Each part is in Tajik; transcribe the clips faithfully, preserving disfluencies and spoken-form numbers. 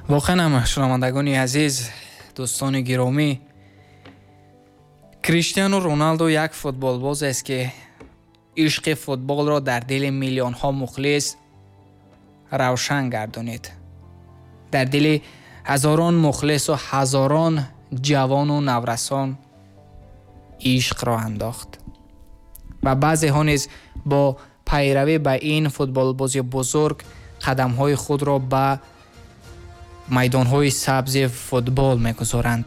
Воқеан ҳам, шунавандагони азиз, дӯстони гиромӣ, Криштиану Роналдо як футболбоз аст, ки ишқи футболро дар дили миллионҳо мухлис равшан гардонид. Дар дили ҳазорон мухлису ҳазорон ҷавону наврасон ишқро андохт ва баъзеҳо низ бо пайравӣ ба ин футболбози бузург қадамҳои худро ба майдонҳои сабзи футбол мегузоранд.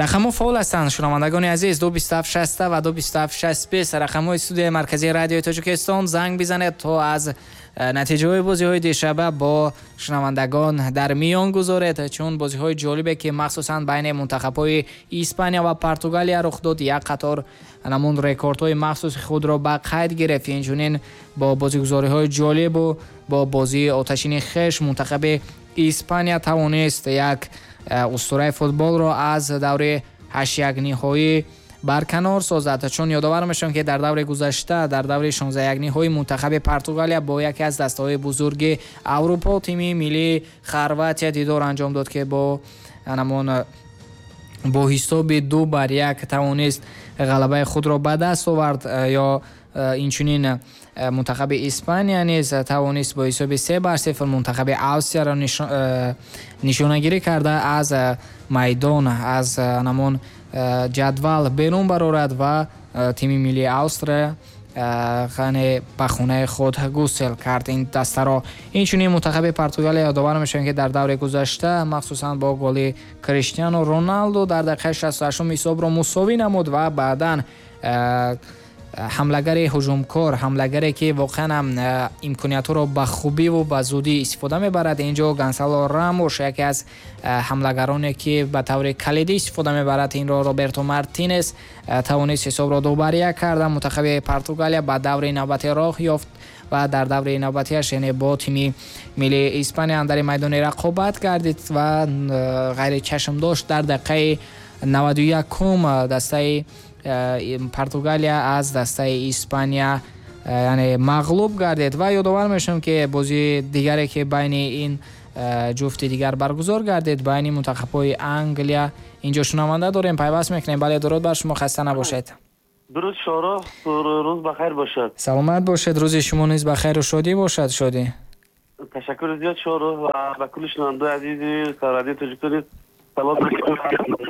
Рақамҳо фаъол ҳастанд, шунавандагони азиз, ду бисту ҳафт шаста ва ду бисту ҳафт шасту бист, рақамҳои студияи марказии радиои Тоҷикистон. Занг бизанед, то аз натиҷаҳои бозиҳои дишаба бо шунавандагон дар миён гузоред, чун бозиҳои ҷолибе, ки махсусан байни мунтахабҳои Испания ва Португалия рух дод, як қатор намун рекордҳои махсуси худро ба қайд гирифт. Инчунин бо бозигузориҳои ҷолибу бо бозии оташини хеш мунтахаби Испания тавонист як устураи футболро аз даври ҳаштякниҳоӣ барканор созад. Чун ёдовар мешавам, ки дар даври гузашта, дар даври шонздаҳякниҳои, мунтахаби Португалия бо яке аз дастаҳои бузурги Аврупо, тими миллии Хорватия, дидор анҷом дод, ки бо намон бо ҳисоби ду бар як тавонист ғалабаи худро ба даст овард. Ё инчунин мунтахаби Испания низ тавонист бо ҳисоби се бар сифр мунтахаби Австрияро нишонагирӣ карда аз майдон, аз намон ҷадвал берун барорад ва тими миллии Австрия яъне ба хонаи худ гусел кард ин дастаро. Инчунин мунтахаби Португалия, ёдовар мешавем, ки дар даври гузашта махсусан бо голи Криштиану Роналду дар дақиқаи шасту ҳаштум ҳисобро мусовӣ намуд ва баъдан ҳамлагари ҳуҷумкор, ҳамлагаре, ки воқеан ҳам имкониятҳоро ба хубиву ба зудӣ истифода мебарад, инҷо Гонсало Рамош, яке аз ҳамлагароне, ки ба таври калидӣ истифода мебарад инро, Роберто Мартинес тавонист ҳисобро ду бар як карда. Мунтахаби Португалия ба даври навбатӣ роҳ ёфт ва дар даври навбатиаш, яъне бо тими миллии Испания андари майдони рақобат гардид ва ғайричашмдошт дар дақиқаи наваду якум дастаи Португалия аз дастаи Испания яъне мағлуб гардид. Ва ёдовар мешавам, ки бозии дигаре, ки байни ин ҷуфти дигар баргузор гардид, байни мунтахабҳои Англия. Инҷо шунаванда дорем, пайваст мекунем. Бале, дуруд бар шумо, хаста набошед. Дуруд, Шоро, рӯз бахайр бошад. Саломат бошед, рӯзи шумо низ бахайру шодӣ бошад. Шодӣ. Ташаккур зиёд, Шоро, ва ба кулли шунавандаои азизи радиои Тоҷикистон салом.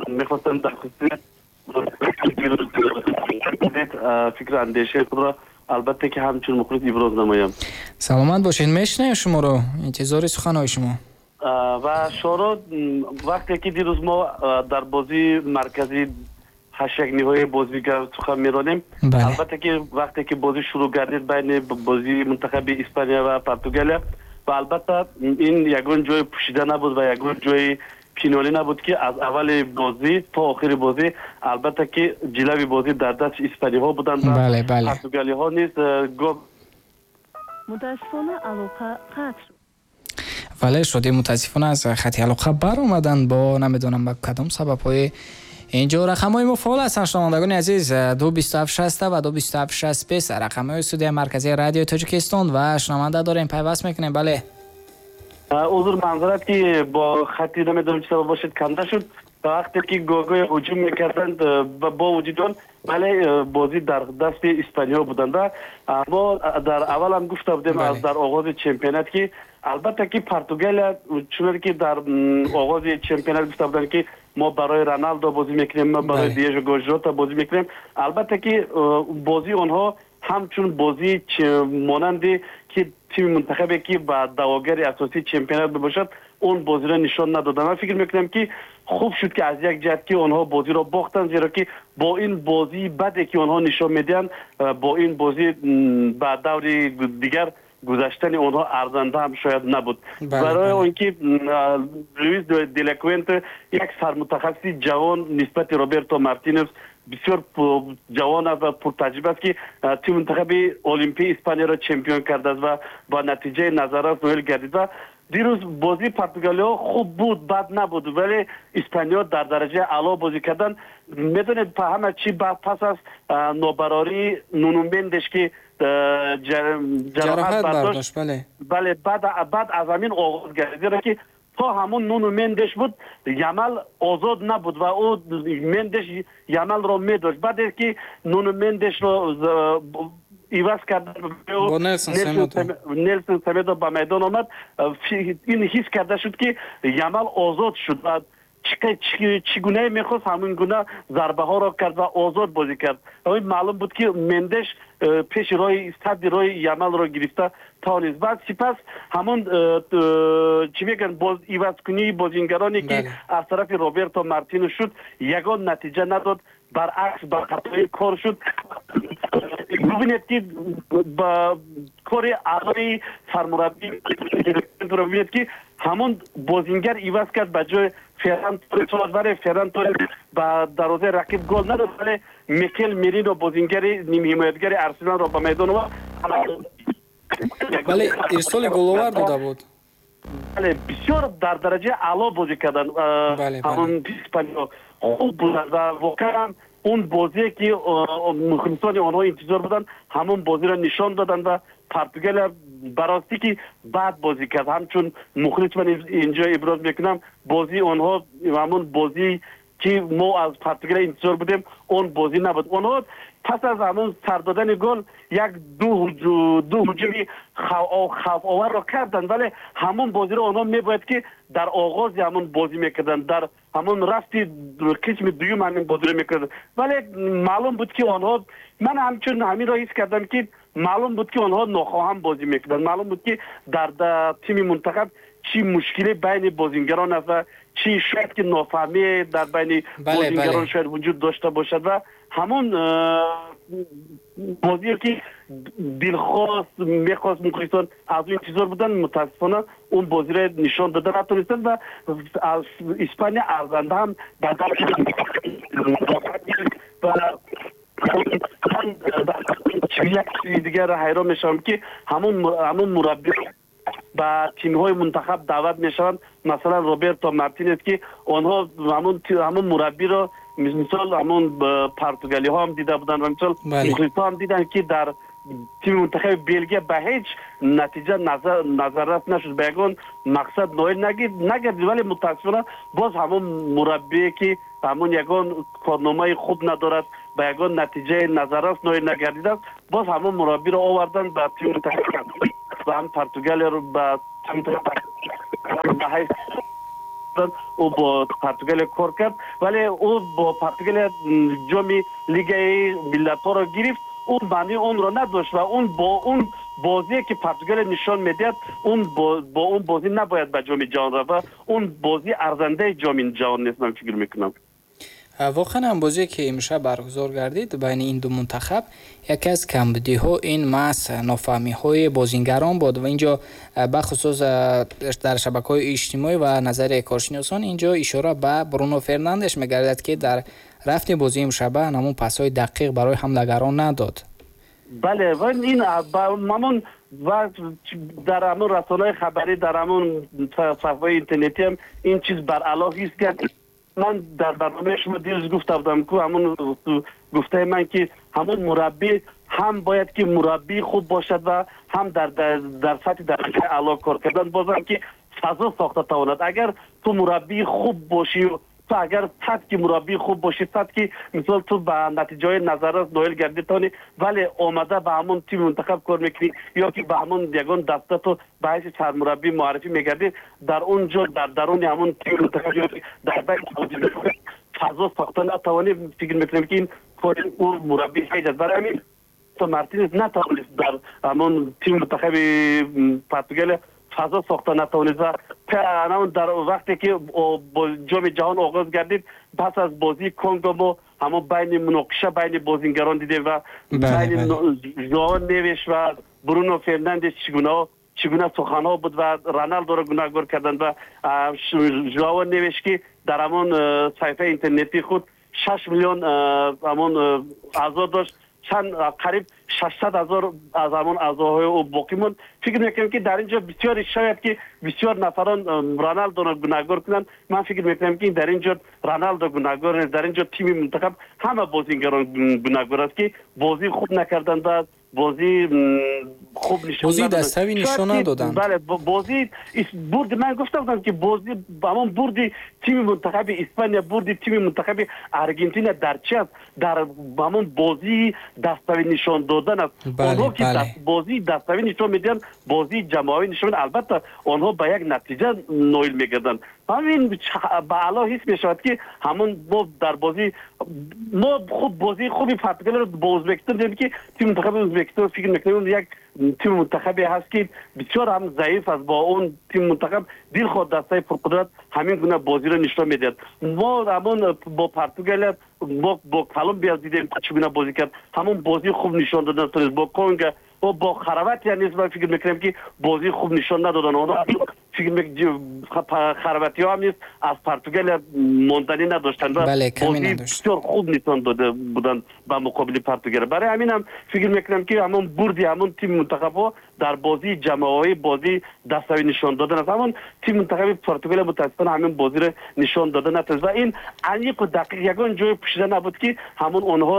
Мехостам дар хусуси фикру андешаи худро, албатта, ки ҳамчун мухлис иброз намоям. Саломат бошед, мешунавем шуморо, интизори суханҳои шумо. Ва Шоро, вақте ки дирӯз мо дар бозии марказии ҳаштякниҳои бозигар сухан меронем, албатта ки вақте ки бозӣ шурӯъ гардид байни бозии мунтахаби Испания ва Португалия, ва албатта ин ягон ҷои пӯшида набуд ва ягон ҷои пинҳонӣ набуд, ки аз аввали бозӣ то охири бозӣ, албатта ки ҷилави бозӣ дар дасти испаниҳо буданд. Португалиҳо низ Мутаассифона, алоқа қатъ шуд. Вале, Шодӣ, мутаассифона аз хати алоқа баромаданд бо намедонам ба кадом сабабҳои. Инҷо рақамҳои мо фаъол ҳастанд, шунавандагони азиз, ду бисту ҳафт шаста ва ду бисту ҳафт шасту бист, рақамҳои студияи марказии радиои Тоҷикистон. Ва шунаванда дорем, пайваст мекунем. Бале. Узр, манзарат, ки бо хати намедонам чӣ сабаб бошад, канда шуд. Вақте ки гоҳгоҳе ҳуҷум мекарданд, бо вуҷуди он, вале бозӣ дар дасти испаниҳо буданд. Мо дар аввал ҳам гуфта будем, аз дар оғози чемпионат, ки албатта ки Португалия, чуноне ки дар оғози чемпионат гуфта буданд, ки мо барои Роналдо бозӣ мекунем, мо барои Диего Жота бозӣ мекунем, албатта ки бозии онҳо ҳамчун бозии монанде ки тими мунтахабе, ки ба даъвогари асосии чемпионат бошад, он бозиро нишон надоданд. Ман фикр мекунам, ки хуб шуд, ки аз як ҷиҳат ки онҳо бозиро бохтанд, зеро ки бо ин бозии баде, ки онҳо нишон медиҳанд, бо ин бозӣ ба даври дигар гузаштани онҳо арзанда ҳам шояд набуд, барои он ки Луис де ла Фуэнте, як сармутахассиси ҷавон, нисбати Роберто Мартинес бисёр ҷавон аст ва пуртаҷриба аст, ки тими мунтахаби олимпии Испанияро чемпион кардааст ва ба натиҷаи назаррас ноил гардид. Ва дирӯз бозии португалиҳо хуб буд, бад набуд, вале испаниҳо дар дараҷаи аъло бозӣ карданд. Медонед, ҳама чӣ пас аз нобарории Нуну Мендеш, ки ҷароҳат бардошт, бале, баъд аз ҳамин оғоз гардид, зеро ки То ҳамон Нуну Мендеш буд, Ямал озод набуд ва ӯ Мендеш Ямалро медошт. Баъде ки Нуну Мендешро иваз кардан, Нелсон Семедо ба майдон омад, ин ҳис карда шуд, ки Ямал озод шуд ва чӣ гунае мехост, ҳамин гуна зарбаҳоро кард ва озод бозӣ кард. Маълум буд, ки Мендеш пеши роҳи садди роҳи Ямалро гирифта тавонист. Баъд сипас ҳамон чӣ мегӯянд, ивазкунии бозингароне, ки аз тарафи Роберто Мартино шуд, ягон натиҷа надод, баръакс ба хатои кор шуд. Бубинед, ки ба кори аълои сармураббӣ бубинед, ки ҳамон бозингар иваз кард ба ҷои Ферран Торрес, вале Ферран Торрес ба дарвозаи рақиб гол надод, вале Микел Мерино, бозингари нимҳимоятгари Арсеналро ба майдон овард. Вале ирсоли головар дода буд. Бале, бисёр дар дараҷаи аъло бозӣ карданд. Ҳамон испаниё хуб буданд ва воқеан он бозие, ки мухлисони онҳо интизор буданд, ҳамон бозиро нишон доданд ва Португалия ба ростӣ ки бад бозӣ кард. Ҳамчун мухлис ман инҷо иброз мекунам, бозии онҳо ҳамон бозӣ, ки мо аз Португалия интизор будем, он бозӣ набуд. Онҳо пас аз ҳамон сар додани гол як ду ду ҳуҷуми хавфоварро карданд, вале ҳамон бозиро онҳо мебояд, ки дар оғози ҳамон бозӣ мекарданд, дар ҳамон рафти қисми дуюм ҳамин бозиро мекарданд. Вале маълум буд, ки онҳо, ман ҳамчун ҳаминро ҳис кардам, ки маълум буд, ки онҳо нохоҳам бозӣ мекарданд. Маълум буд, ки дар тими мунтахаб чӣ мушкиле байни бозингарон аст ва чӣ шояд ки нофаҳмие дар байни бозингарон шояд вуҷуд дошта бошад. Ва ҳамон бозие, ки дилхост мехост, мухлисон аз ӯ интизор буданд, мутаассифона он бозиро нишон дода натонистанд ва аз Испания арзанда ҳам ба ва як чизи дигарро ҳайрон мешавам, ки ҳамон ҳамон мураббӣ ба тимҳои мунтахаб даъват мешаванд, масалан Роберто Мартинес, ки онҳо ҳамон ҳамон мураббиро мисол ҳамон португалиҳо ҳам дида буданд ва мисол мухлисҳо ҳам диданд, ки дар тими мунтахаби Белгия ба ҳеҷ натиҷа назаррас нашуд, ба ягон мақсад ноил нагардид. Вале мутаассифона боз ҳамон мураббие, ки ҳамон ягон корномаи хуб надорад, ба ягон натиҷаи назаррас ноил нагардидааст, боз ҳамон мураббиро оварданд ба тими мунтахаб ва ҳам Португалияро ба ҳайс ӯ бо Португалия кор кард, вале ӯ бо Португалия ҷоми Лигаи миллатҳоро гирифт, он маънии онро надошт ва он бо он бозие, ки Португалия нишон медиҳад, он бо он бозӣ набояд ба ҷоми ҷаҳон рафт ва он бозӣ арзандаи ҷоми ҷаҳон нест, ман фикр мекунам. Воқеан ҳам бозие, ки имшаб баргузор гардид байни ин ду мунтахаб, яке аз камбудиҳо ин маҳз нофаҳмиҳои бозингарон буд ва инҷо бахусус дар шабакаҳои иҷтимоӣ ва назари коршиносон инҷо ишора ба Бруно Фернандеш мегардад, ки дар рафти бозии имшаба ҳамон пасҳои дақиқ барои ҳамлагарон надод. Бале, ва ин ҳамон ва дар ҳамон расонаҳои хабарӣ, дар ҳамон саҳифаҳои интернетӣ ҳам ин чиз баръало ҳис кард. Ман дар барномаи шумо дирӯз гуфта будам, ку ҳамон гуфтаи ман, ки ҳамон мураббӣ ҳам бояд ки мураббии хуб бошад ва ҳам дар дар сатҳи дараҷаи аъло кор кардан, бозам ки фазо сохта тавонад. Агар ту мураббии хуб бошӣ, ту агар сад ки мураббии хуб бошӣ, сад ки мисол ту ба натиҷаҳои назаррас ноил гардӣ тавонӣ, вале омада ба ҳамон тими мунтахаб кор мекунӣ ё ки ба ҳамон ягон даста ту ба ҳайси сармураббӣ муаррифӣ мегардӣ, дар он ҷо дар даруни ҳамон тими мунтахаб ё дар байни фазо сохта натавонӣ, фикр мекунем, ки ин кори ӯ мураббӣ ҳеҷ аст. Барои ҳамин Мартинес натавонист дар ҳамон тими мунтахаби Португалия фазо сохта натавонист ва дар вақте ки ҷоми ҷаҳон оғоз гардид, пас аз бозии Конго мо ҳамон байни муноқиша байни бозингарон дидем ва байни Жоао Невеш ва Бруно Фернандес чӣ гуна чӣ гуна суханҳо буд ва Роналдоро гунаҳгор карданд ва Жоао Невеш, ки дар ҳамон саҳифаи интернетии худ шаш миллион ҳамон аъзо дошт, чанд қариб шашсад ҳазор аз ҳамон аъзоҳои ӯ боқӣ монд. Фикр мекунам, ки дар ин ҷо бисёр шояд ки бисёр нафарон Роналдоро гунаҳгор кунанд. Ман фикр мекунам, ки дар ин ҷо Роналдо гунаҳгор нест, дар ин ҷо тими мунтахаб, ҳама бозингарон гунаҳгор аст, ки бозии хуб накарданд ва бозии хуб нишон бозии дастави нишон надоданд. Бале, бозии бурд, ман гуфта будам ки бозӣ ҳамон бурди тими мунтахаби Испания, бурди тими мунтахаби Аргентина дар чи аст? Дар ҳамон бозии даставӣ нишон додан аст. Онҳо ки бозии даставӣ нишон медиҳанд, бозии ҷамоавӣ нишон медиҳанд, албатта онҳо ба як натиҷа ноил мегарданд. Ҳамин ба аъло ҳис мешавад ки ҳамон мо дар бозӣ мо хуб бозии хуби Португалияро бо Ӯзбекистон дидем ки тими мунтахаби Ӯзбекистон фикр мекунем як тими мунтахабе ҳаст ки бисёр ҳам заиф аст. Бо он тими мунтахаб дилхоҳ дастаи пурқудрат ҳамин гуна бозиро нишон медиҳад. Мо ҳамон бо Португалия, мо бо Колумбия дидем чӣ гуна бозӣ кард, ҳамон бозии хуб нишон додан бо Конго ва бо Хорватия низ ман фикр мекунам ки бозии хуб нишон надоданд. Онҳо фикр хорватиҳо ҳам низ аз Португалия монданӣ надоштанд ва бозии бисёр хуб нишон дода буданд ба муқобили Португалия. Барои ҳамин ҳам фикр мекунам ки ҳамон бурди ҳамон тими мунтахабҳо дар бозии ҷамоавӣ, бозии даставӣ нишон додан аст. Ҳамон тими мунтахаби Португалия мутаассифона ҳамин бозиро нишон дода натавонист ва ин аниқу дақиқ ягон ҷое пӯшида набуд ки ҳамон онҳо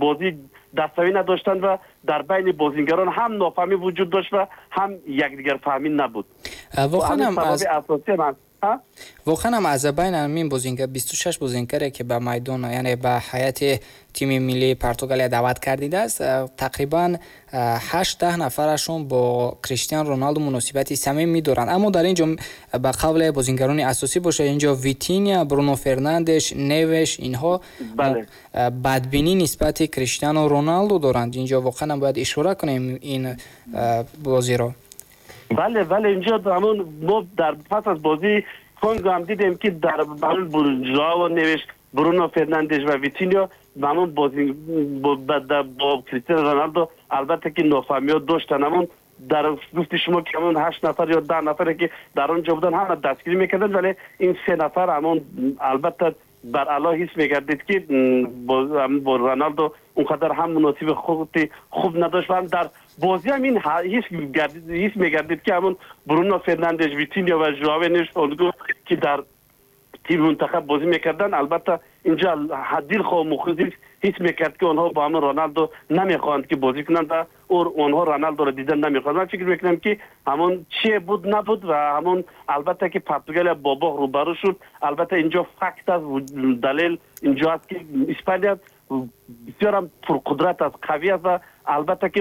бозии даставӣ надоштанд ва дар байни бозингарон ҳам нофаҳмӣ вуҷуд дошт ва ҳам якдигарфаҳмӣ набуд. Воқеан ҳам аз воқеан ҳам аз байни ҳамин бозингар бисту шаш бозингаре ки ба майдон, яъне ба ҳайати тими миллии Португалия даъват кардидааст, тақрибан ҳашт даҳ нафарашон бо Криштиану Роналду муносибати самимӣ доранд. Аммо дар ин ҷо ба қавле бозингарони асосӣ бошад, инҷо Витиня, Бруно Фернандеш, Невеш, инҳо бадбинӣ нисбати Криштиану Роналду доранд. Инҷо воқеан бояд ишора кунем ин бозиро. Бале, бале, инҷо ҳамон мо дар пас аз бозии Конго ҳам дидем ки дар ҳамон Жоао Невеш, Бруно Фернандеш ва Витиньо ҳамон бозӣ бо Криштиану Роналдо албатта ки нофаҳмиҳо доштанд. Ҳамон дар гуфти шумо ки ҳамон ҳашт нафар ё даҳ нафаре ки дар он ҷо буданд ҳама дастгирӣ мекарданд, вале ин се нафар ҳамон албатта бар аъло ҳис мегардид ки бо Роналдо он қадар ҳам муносиби хуб надошт ва ҳам дар бозӣ ҳам ин ҳис мегардид ки ҳамон Бруно Фернандеш, Витиньо ва Жоао Невеш онго ки дар тими мунтахаб бозӣ мекарданд, албатта инҷо дилхоҳ мухлис ҳис мекард ки онҳо бо ҳамон Роналдо намехоҳанд ки бозӣ кунанд ва онҳо Роналдоро дидан намехоҳанд. Ман фикр мекунам ки ҳамон чие буд набуд ва ҳамон албатта ки Португалия бо боғ рӯбарӯ шуд. Албатта инҷо факт аст, далел инҷо аст ки Испания бисёр ҳам пурқудрат аст, қавӣ аст ва албатта ки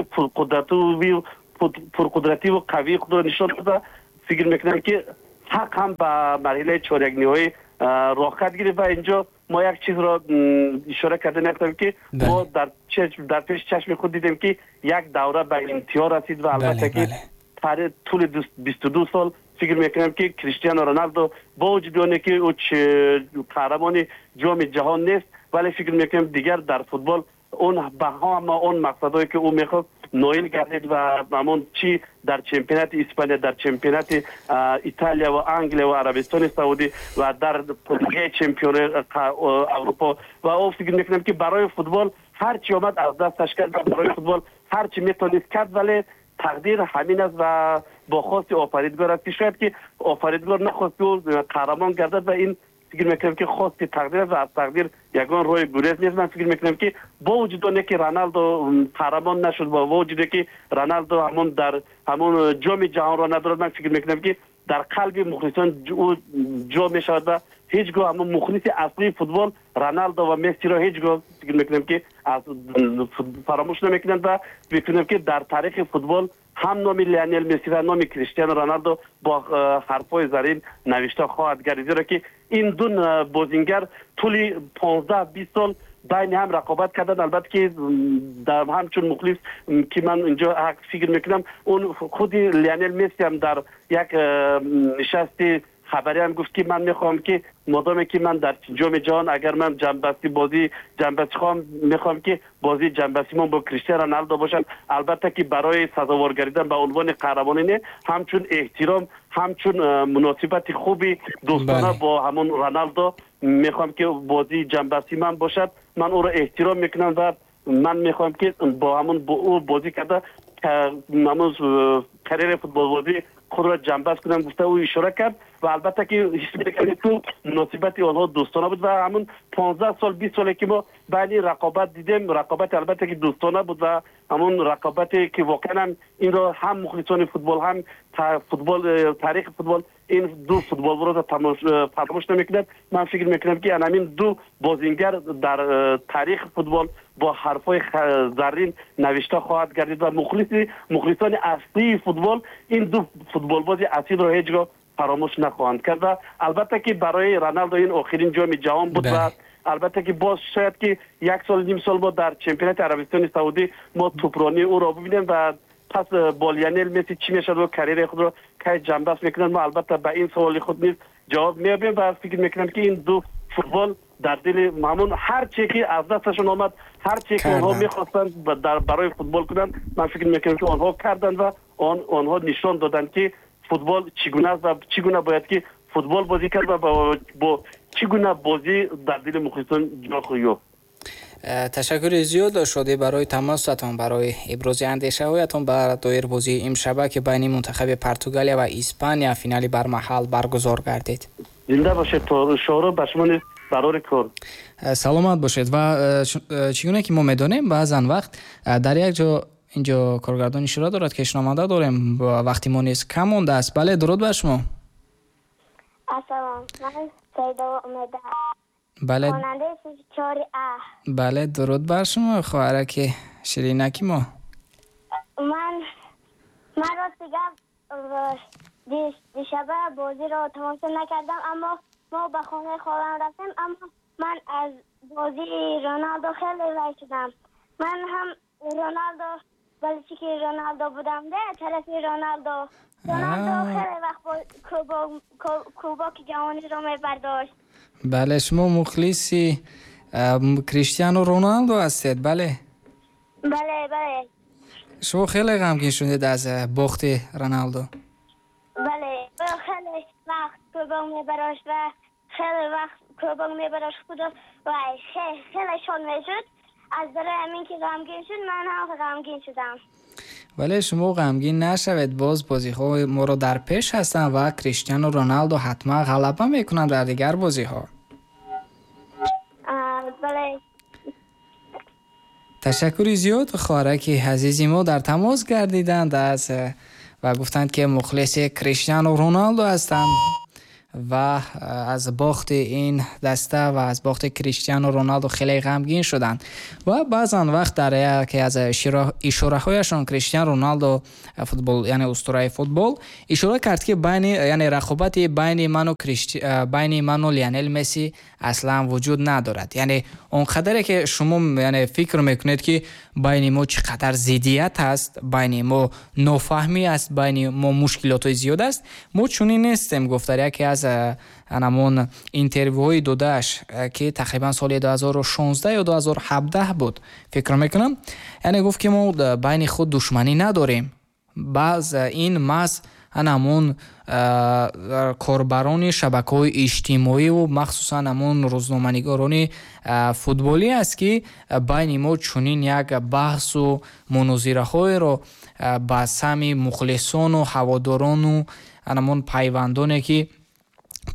пурқудративу қавии худро нишон дода. Фикр мекунам ки ҳақ ҳам ба марҳилаи чорякниҳоӣ роҳхат гирифт ва инҷо мо як чизро ишора карда нахоҳем ки мо дар дар пеши чашми худ дидем ки як давра ба интиҳо расид ва албатта ки тӯли бисту ду сол фикр мекунам ки Криштиану Роналдо бо вуҷуди оне ки ӯ қаҳрамони ҷоми ҷаҳон нест, вале фикр мекунам дигар дар футбол он ба ҳама он мақсадҳое ки ӯ мехост ноил гардид ва ҳамон чӣ дар чемпионати Испания, дар чемпионати Италия ва Англия ва Арабистони Саудӣ ва дар Лигаи чемпиони Аврупо ва ӯ фикр мекунам ки барои футбол ҳар чӣ омад аз дасташ кард ва барои футбол ҳар чӣ метавонист кард, вале тақдир ҳамин аст ва бо хости офаридгор аст ки шояд ки офаридгор нахост ки ӯ қаҳрамон гардад ва ин фикр мекунам ки хости тақдир аст ва аз тақдир ягон роҳи гурез нест. Ман фикр мекунам ки бо вуҷуди оне ки Роналдо қаҳрамон нашуд, бо вуҷуде ки Роналдо ҳамон дар ҳамон ҷоми ҷаҳонро надорад, ман фикр мекунам ки дар қалби мухлисон ӯ ҷо мешавад ва ҳеҷ гоҳ ҳамон мухлиси аслии футбол Роналдо ва Мессиро ҳеҷ гоҳ фикр мекунам ки аз фаромӯш намекунанд ва мекунам ки дар таърихи футбол ҳам номи Лионел Месси ва номи Криштиану Роналдо бо ҳарфҳои зарин навишта хоҳад гардид, зеро ки ин ду бозингар тӯли понздаҳ бист сол байни ҳам рақобат карданд. Албатта ки дар ҳамчун мухлис ки ман инҷо ҳақ фикр мекунам, он худи Лионел Месси ҳам дар як нишасти хабарӣ ҳам гуфт ки ман мехоҳам ки модоме ки ман дар ҷоми ҷаҳон агар ман ҷанбасти бозӣ ҷанбасти хоҳам, мехоҳам ки бозии ҷанбастимон бо Криштиану Роналдо бошад. Албатта ки барои сазовор гардидан ба унвони қаҳрамонӣ не, ҳамчун эҳтиром, ҳамчун муносибати хуби дӯстона бо ҳамон Роналдо мехоҳам ки бозии ҷанбасти ман бошад. Ман ӯро эҳтиром мекунам ва ман мехоҳам ки бо ҳамон ӯ бозӣ карда ҳамон карьераи футболбозӣ خود را جنباز کنم گفته او اشاره کرد و البته که حس می‌کردیم که مناسبت آنها دوستانه بود و همون پانزده سال بیست ساله که ما بین رقابت دیدیم، رقابت البته که دوستانه بود و همون رقابتی که واقعا این را هم مخلصان فوتبال هم فوتبال تاریخ فوتبال این دو فوتبال را فراموش نمی‌کند. من فکر می‌کنم که همین دو بازیگر در تاریخ فوتبال با حرفای زرین نوشته خواهد گردید و مخلص مخلصان اصلی فوتبال این دو فوتبال باز اصیل را هیچگاه فراموش نخواهند کرد و البته که برای رونالدو این آخرین جام جهان بود و البته که باز شاید که یک سال نیم سال ما در چمپیونات عربستان سعودی ما توپرانی او را ببینیم و پس با لیونل مسی چی میشد و کریر خود را کی جنباز میکنند. ما البته به این سوال خود نیز جواب میابیم و فکر میکنم که این دو فوتبال در دل مامون هر چی که از دستشون آمد، هر چی که آنها میخواستند در برای فوتبال کنند، من فکر میکنم که آنها کردند و آن آنها نشان دادند که فوتبال چگونه است و چگونه باید که فوتبال بازی کرد و با, با چگونه بازی در دل مخلصان جا خواهد. تشکر زیاد شده برای تماستان، برای ابراز اندیشه‌هایتان بر دایر بازی امشب که بین منتخب پرتغالیا و اسپانیا فینالی بر محل برگزار گردید. زنده باشید تا شورا به شما نیز برای کار. سلامت باشید. و چگونه که ما میدانیم بعضا وقت در یک جا اینجا کارگردان اشاره دارد که شنونده داریم، وقتی ما نیز کم مونده است. بله، درود بر شما. سلام، من سیدا امیده. بله، خواننده چهار ا. بله، درود بر شما خواهرک شیرینکی ما. من من راست گفت دیشب بازی را تماشا نکردم، اما ما به خانه خواهرم رفتیم، اما من از بازی رونالدو خیلی وای شدم. من هم رونالدو بلچی که رونالدو بودم ده طرف رونالدو رونالدو خیلی وقت کوبا که جهانی رو میبرداشت. بله، شما مخلصی کریستیانو رونالدو هستید؟ بله بله بله. شما خیلی غمگین شدید از باخت رونالدو؟ بله، خیلی وقت کوبا میبرداشت و خیلی وقت کوبا میبرداشت خدا و خیلی شاد میشد. از برای همین که غمگین شد من هم غمگین شدم. ولی شما غمگین نشوید، باز بازی‌ها ما رو در پیش هستن و کریستیانو رونالدو حتما غلبه میکنن در دیگر بازی‌ها. بله. تشکر زیاد خواهرک عزیزی ما در تماس گردیدند از و گفتند که مخلص کریستیانو رونالدو هستند و از باخت این دسته و از باخت کریستیانو رونالدو خیلی غمگین شدند. و بعضا وقت در یکی از اشاره هایشان کریستیانو رونالدو فوتبال، یعنی اسطوره فوتبال، اشاره کرد که بین، یعنی رقابت بین من و کریستی بین من و لیونل مسی اصلا وجود ندارد. یعنی اونقدری که شما یعنی فکر میکنید که بین ما چقدر ضدیت هست، بین ما نافهمی است، بین ما مشکلات زیاد است، ما چنین نیستیم. گفت در یکی از همون اینترویوی داداش که تقریبا سال دو هزار و شانزده یا دو هزار و هفده بود فکر میکنم، یعنی گفت که ما بین خود دشمنی نداریم. بعض این مس همون корбарони шабакаҳои иҷтимоӣ махсусан ҳамон рӯзноманигорони футболӣ аст, ки байни мо чунин як баҳсу мунозираҳоеро ба сами мухлисону ҳаводорону ҳамон пайвандоне ки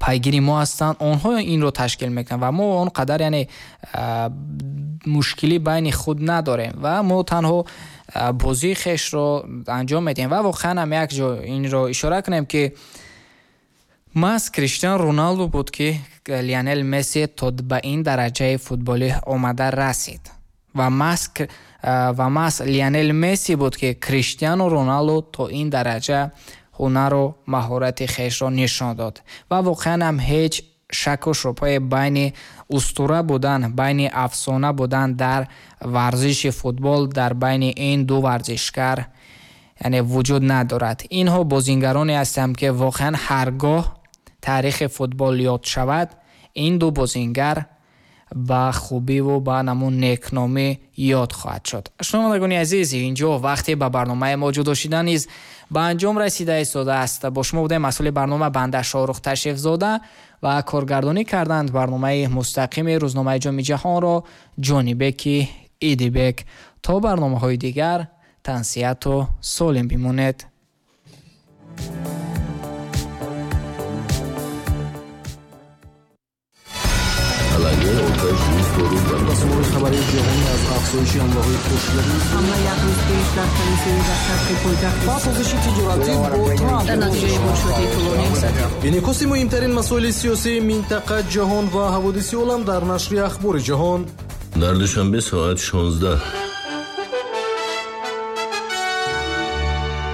пайгири мо ҳастанд, онҳо инро ташкил мекунанд ва мо он қадар яъне мушкилӣ байни худ надорем ва мо танҳо бозии хешро анҷом медиҳем. Ва воқеан ҳам як ҷо инро ишора кунем ки маҳз Криштиану Роналду буд ки Лионел Месси то ба ин дараҷаи футболӣ омада расид ва маҳз ва маҳз Лионел Месси буд ки Криштиану Роналду то ин дараҷа ҳунару маҳорати хешро нишон дод. Ва воқеан ҳам ҳеҷ шаку шубҳае байни устура будан, байни афсона будан дар варзиши футбол дар байни ин ду варзишгар яъне вуҷуд надорад. Инҳо бозингароне ҳастанд ки воқеан ҳаргоҳ таърихи футбол ёд шавад, ин ду бозингар ба хубиву ба намун некномӣ ёд хоҳад шуд. Шунавандагони азиз, инҷо вақте ба барномаи мо ҷудо шидан низ ба анҷом расида истодааст. Бо шумо будем масъули барнома банда Шоҳрух Ташрифзода ва коргардонӣ карданд барномаи мустақими рӯзномаи Ҷоми Ҷаҳонро Ҷонибеки Идибек. То барномаҳои дигар тансиҳату солим бимонед. Расонаҳои хабарии ҷаҳонӣ аз афзоиши ҳамлаҳои пошидаи ҳамла як рӯз пеш дар калисои дар шарқи пойтахт ва созиши тиҷоратӣ бо Трамп дар натиҷаи мушоҳидаи тӯлонӣ. Инъикоси муҳимтарин масоили сиёсии минтақа, ҷаҳон ва ҳаводиси олам дар нашри Ахбори ҷаҳон. Дар Душанбе соат шонздаҳ.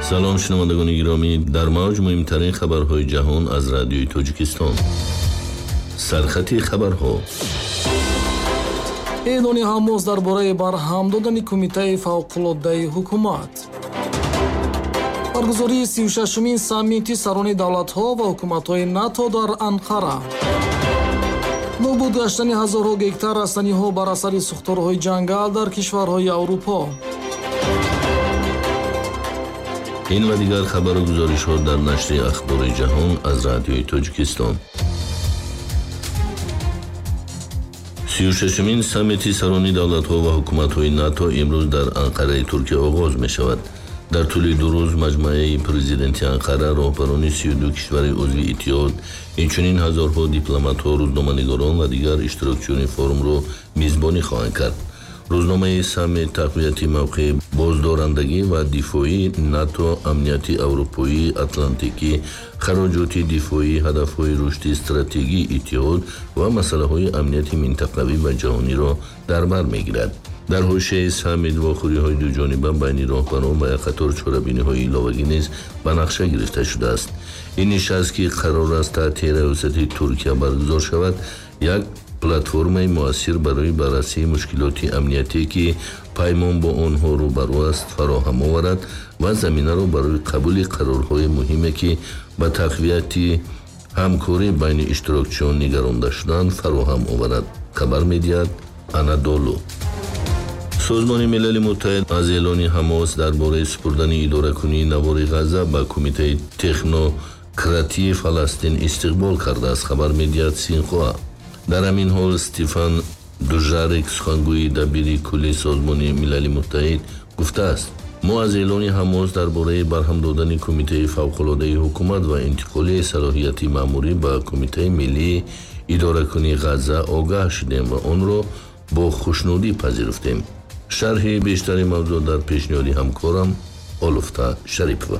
Салом шунавандагони гиромӣ, дар мавҷ муҳимтарин хабарҳои ҷаҳон аз радиои Тоҷикистон. Сархати хабарҳо. Эълони Ҳамос дар бораи барҳам додани кумитаи фавқулоддаи ҳукумат. Баргузории сию шашумин саммити сарони давлатҳо ва ҳукуматҳои НАТО дар Анқара. Нобуд гаштани ҳазорҳо гектар растаниҳо бар асари сӯхторҳои ҷангал дар кишварҳои Аврупо. Ин ва дигар хабару гузоришҳо дар нашри Ахбори ҷаҳон аз радиои Тоҷикистон. сию шашумин саммити сарони давлатҳо ва ҳукуматҳои НАТО имрӯз дар Анқараи Туркия оғоз мешавад. Дар тӯли ду рӯз маҷмӯаи президенти Анқара роҳбарони сию ду кишвари узви иттиҳод, инчунин ҳазорҳо дипломатҳо, рӯзноманигорон ва дигар иштирокчиёни форумро мизбонӣ хоҳанд кард. Рӯзномаи саммит тақвияти мавқеи боздорандагӣ ва дифоии НАТО, амнияти аврупоӣ, атлантикӣ, хароҷоти дифоӣ, ҳадафҳои рушди стратегии иттиҳод ва масъалаҳои амнияти минтақавӣ ва ҷаҳониро дар бар мегирад. Дар ҳошияи саммит вохӯриҳои дуҷониба байни роҳбарон ва як қатор чорабиниҳои иловагӣ низ ба нақша гирифта шудааст. Ин нишаст, ки қарор аст таҳти раёсати Туркия баргузор шавад, як платформаи муассир барои баррасии мушкилоти амниятие, ки паймон бо онҳо рӯбарӯ аст, фароҳам оварад ва заминаро барои қабули қарорҳои муҳиме, ки ба тақвияти ҳамкорӣ байни иштирокчиён нигаронда шуданд, фароҳам оварад, хабар медиҳад Анадолу. Созмони Милали Муттаҳид аз эълони Ҳамос дар бораи супурдани идоракунии навори Ғазза ба кумитаи технократии Фаластин истиқбол кардааст, хабар медиҳад Синхуа. Дар ҳамин ҳол Стефан Дужарик, сухангӯи дабири кулли Созмони Милали Муттаҳид, гуфтааст: мо аз эълони Ҳамос дар бораи барҳам додани кумитаи фавқулоддаи ҳукумат ва интиқоли салоҳияти маъмурӣ ба кумитаи миллии идоракунии Ғазза огаҳ шудем ва онро бо хушнудӣ пазируфтем. Шарҳи бештари мавзӯъ дар пешниҳоди ҳамкорам Олуфта Шарипова.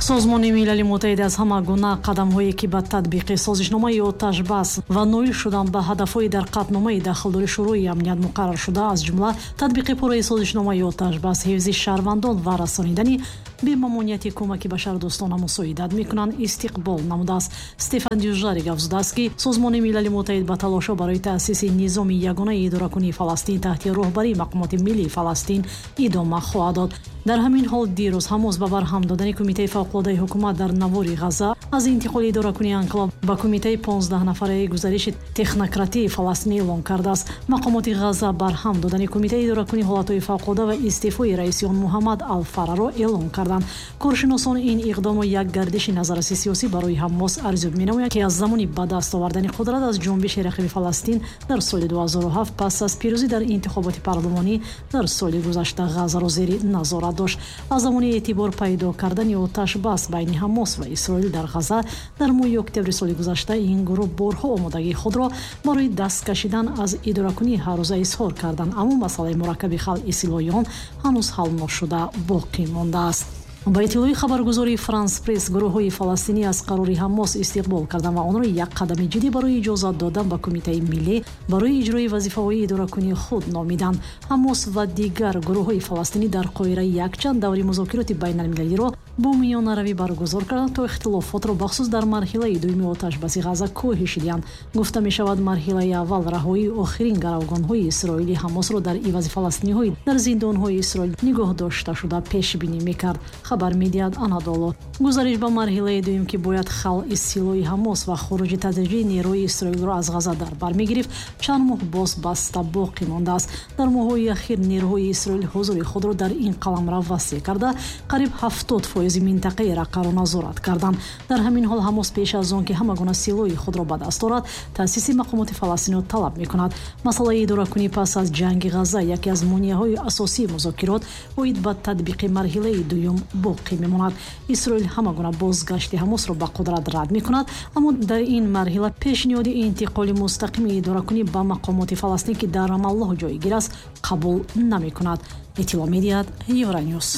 Созмони Милали Муттаҳид аз ҳама гуна қадамҳое, ки ба татбиқи созишномаи оташбас ва ноил шудан ба ҳадафҳои дар қатъномаи дахлдори Шӯрои амният муқаррар шуда, аз ҷумла татбиқи пурраи созишномаи оташбас, ҳифзи шаҳрвандон ва расонидани бемамонияти кӯмаки башардӯстона мусоидат мекунанд, истиқбол намудааст. Стефан Дюжарик афзудааст, ки Созмони Милали Муттаҳид ба талошҳо барои таъсиси низоми ягонаи идоракунии Фаластин таҳти роҳбарии мақомоти миллии Фаластин идома хоҳад дод. Дар ҳамин ҳол дирӯз Ҳамос ба барҳам додани кумитаи фавқулоддаи ҳукумат дар навори Ғазза аз интиқоли идоракунии анклав ба кумитаи понздаҳ нафараи гузариши технократии Фаластин эълон кардааст. Мақомоти Ғазза барҳам додани кумитаи идоракунии ҳолатҳои фавқулодда ва истеъфои раиси он Муҳаммад Алфараро эълон карданд. Коршиносон ин иқдомро як гардиши назарраси сиёсӣ барои Ҳамос арзёб менамоянд, ки аз замони ба даст овардани қудрат аз ҷунбиши рақиби Фаластин дар соли ду ҳазору ҳафт пас аз пирӯзӣ дар интихоботи парлумонӣ дар соли гузашта Ғаззаро зери назорат дошт. Аз замони эътибор пайдо кардани оташбас байни Ҳамос ва Исроил дар Ғазза дар моҳи октябри соли гузашта ин гурӯҳ борҳо омодагии худро барои даст кашидан аз идоракунии ҳаррӯза изҳор карданд, аммо масъалаи мураккаби халъи силоҳи он ҳанӯз ҳал ношуда боқӣ мондааст. Ба иттилои хабаргузории Франс Пресс, гурӯҳҳои фаластинӣ аз қарори Ҳамос истиқбол карданд ва онро як қадами ҷиддӣ барои иҷозат додан ба кумитаи миллӣ барои иҷрои вазифаҳои идоракунии худ номиданд. Ҳамос ва дигар гурӯҳҳои фаластинӣ дар Қоҳира якчанд даври музокироти байналмилалиро бо миёнаравӣ баргузор карданд, то ихтилофотро бахусус дар марҳилаи дуюми оташбаси Ғазза коҳиш диҳанд. Гуфта мешавад, марҳилаи аввал раҳоии охирин гаравгонҳои исроили Ҳамосро дар ивази фаластиниҳои дар зиндонҳои Исроил нигоҳ дошта шуда пешбинӣ мекард, хабар медиҳад Анадолу. Гузариш ба марҳилаи дуюм, ки бояд халъи силоҳи Ҳамос ва хуруҷи тадриҷии нерӯи Исроилро аз Ғазза дар бар мегирифт, чанд моҳ боз баста боқӣ мондааст. Дар моҳҳои ахир нерӯҳои Исроил ҳузури худро дар ин қаламрав васеъ карда, қариб ҳафтод фоизи минтақаи Раққаро назорат карданд. Дар ҳамин ҳол Ҳамос пеш аз он ки ҳама гуна силоҳи худро ба даст орад, таъсиси мақомоти Фаластинро талаб мекунад. Масъалаи идоракунӣ пас аз ҷанги Ғазза яке аз монеаҳои асосии музокирот оид ба татбиқи марҳилаи дуюм боқӣ мемонад. Исроил ҳама гуна бозгашти Ҳамосро ба қудрат рад мекунад, аммо дар ин марҳила пешниҳоди интиқоли мустақими идоракунӣ ба мақомоти Фаластин, ки дар Рамаллоҳ ҷойгир аст, қабул намекунад. Иттилоъ медиҳад Евроньюс.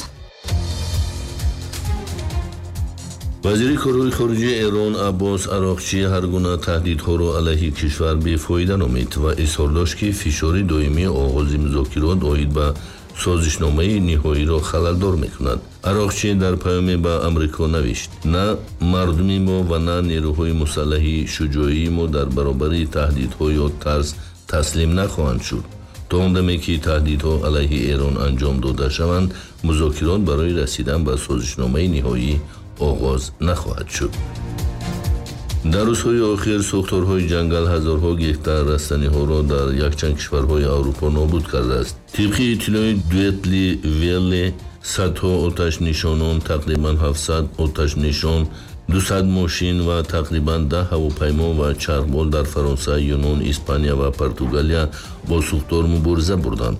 Вазири корҳои хориҷии Эрон Аббос Ароқчӣ ҳар гуна таҳдидҳоро алайҳи кишвар бефоида номид ва изҳор дошт, ки фишори доимии оғози музокирот оид ба созишномаи ниҳоиро халалдор мекунад. Ароқчӣ дар паёме ба Амрико навишт: на мардуми мо ва на нерӯҳои мусаллаҳи шуҷоии мо дар баробари таҳдидҳо ё тарс таслим нахоҳанд шуд. То он даме ки таҳдидҳо алайҳи Эрон анҷом дода шаванд, музокирот барои расидан ба созишномаи ниҳоӣ оғоз нахоҳад шуд. Дар рӯзҳои охир сӯхторҳои ҷангал ҳазорҳо гектар растаниҳоро дар якчанд кишварҳои Аврупо нобуд кардааст. Тибқи иттилои Дуэтли Велле, садҳо оташнишонон, тақрибан ҳафтсад оташнишон, дусад мошин ва тақрибан даҳ ҳавопаймо ва чархбол дар Фаронса, Юнон, Испания ва Португалия бо сӯхтор мубориза бурданд.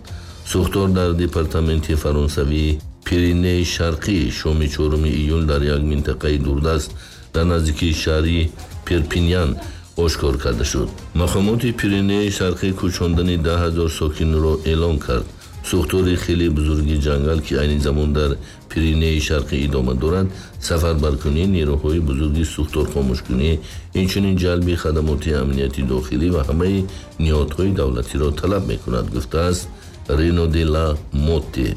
Сӯхтор дар департаменти фаронсавии Пиренеи Шарқӣ шоми чоруми июл дар як минтақаи дурдаст дар наздикии шаҳри Перпиньян ошкор карда шуд. Мақомоти Пиренеи Шарқӣ кӯчондани даҳ ҳазор сокинро эълон кард. Сӯхтори хеле бузурги ҷангал, ки айни замон дар Пиренеи Шарқӣ идома дорад, сафарбаркунии нерӯҳои бузурги сӯхторхомӯшкунӣ, инчунин ҷалби хадамоти амнияти дохилӣ ва ҳамаи ниҳодҳои давлатиро талаб мекунад, гуфтааст Рено де ла Мотте,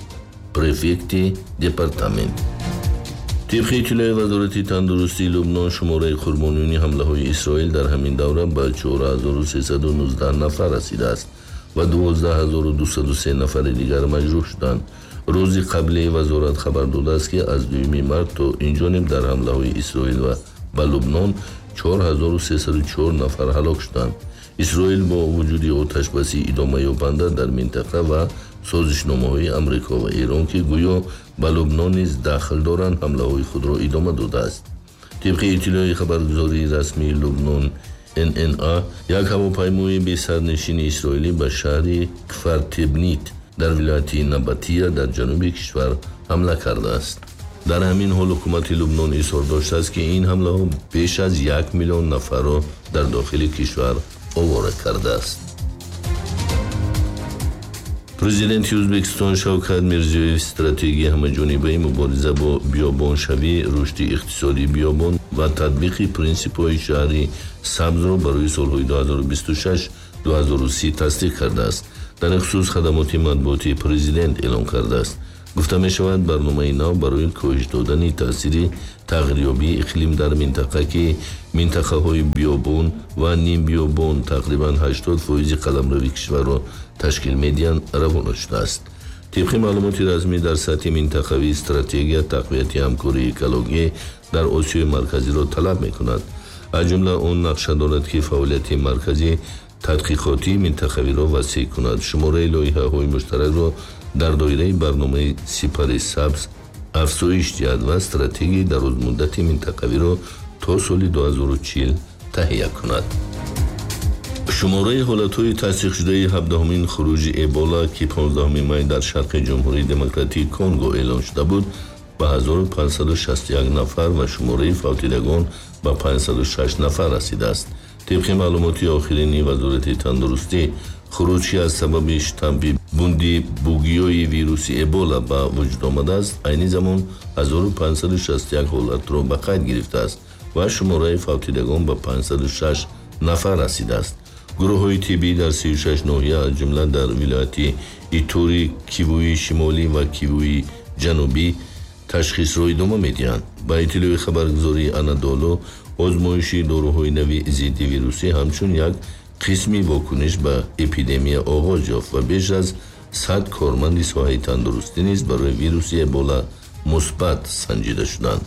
префекти департамент. Тибқи иттилои Вазорати тандурустии Лубнон, шумораи қурбониёни ҳамлаҳои Исроил дар ҳамин давра ба чор ҳазору сесаду нуздаҳ нафар расидааст ва дувоздаҳ ҳазору дусаду се нафари дигар маҷрӯҳ шуданд. Рӯзи қабли вазорат хабар додааст, ки аз дуюми март то инҷониб дар ҳамлаҳои Исроил ва ба Лубнон чор ҳазору сесаду чор нафар ҳалок шуданд. Исроил бо вуҷуди оташбаси идомаёбанда дар минтақа ва созишномаҳои Амрико ва Эрон, ки гӯё ба Лубнон низ дахл доранд, ҳамлаҳои худро идома додааст. Тибқи иттилои хабаргузории расмии Лубнон эн эн а, як ҳавопаймои бесарнишини исроилӣ ба шаҳри Кфартебнит дар вилояти Набатия дар ҷануби кишвар ҳамла кардааст. Дар ҳамин ҳол ҳукумати Лубнон изҳор доштааст, ки ин ҳамлаҳо беш аз як миллион нафарро дар дохили кишвар овора кардааст. Президенти Ӯзбекистон Шавкат Мирзиёев стратегияи ҳамаҷонибаи мубориза бо биёбоншавӣ, рушди иқтисодии биёбон ва татбиқи принсипҳои шаҳри сабзро барои солҳои ду ҳазору бисту шаш ду ҳазору си тасдиқ кардааст. Дар ин хусус хадамоти матбуотии президент эълон кардааст. Гуфта мешавад, барномаи нав барои коҳиш додани таъсири тағйирёбии иқлим дар минтақа, ки минтақаҳои биёбон ва нимбиёбон тақрибан ҳаштод фоизи қаламрави кишварро ташкил медиҳанд, равона шудааст. Тибқи маълумоти расмӣ, дар сатҳи минтақавӣ стратегия тақвияти ҳамкории экологӣ дар Осиёи Марказиро талаб мекунад. Аз ҷумла он нақша дорад, ки фаъолияти маркази тадқиқотии минтақавиро васеъ кунад, шумораи лоиҳаҳои муштаракро дар доираи барномаи сипари сабз афзоиш диҳад ва стратегияи дарозмуддати минтақавиро то соли ду ҳазору чил таҳия кунад. Шумораи ҳолатҳои тасдиқшудаи ҳабдаҳумин хуруҷи Эбола, ки понздаҳуми май дар шарқи Ҷумҳурии Демократии Конго эълон шуда буд, ба ҳазору панҷсаду шасту як нафар ва шумораи фавтидагон ба панҷсаду шаш нафар расидааст. Тибқи маълумоти охирини Вазорати тандурустӣ, хуруҷ, ки аз сабаби штампи бунди бугиёи вируси Эбола ба вуҷуд омадааст, айни замон ҳазору панҷсаду шасту як ҳолатро ба қайд гирифтааст ва шумораи фавтидагон ба панҷсаду шаш нафар расидааст. Гурӯҳҳои тиббӣ дар сию шаш ноҳия, аз ҷумла дар вилояти Итури, Кивуи Шимолӣ ва Кивуи Ҷанубӣ ташхисро идома медиҳанд. Ба иттилои хабаргузории Анадолу, озмоиши доруҳои нави зидди вирусӣ ҳамчун як қисми вокуниш ба эпидемия оғоз ёфт ва беш аз сад корманди соҳаи тандурустӣ низ барои вируси Эбола мусбат санҷида шуданд.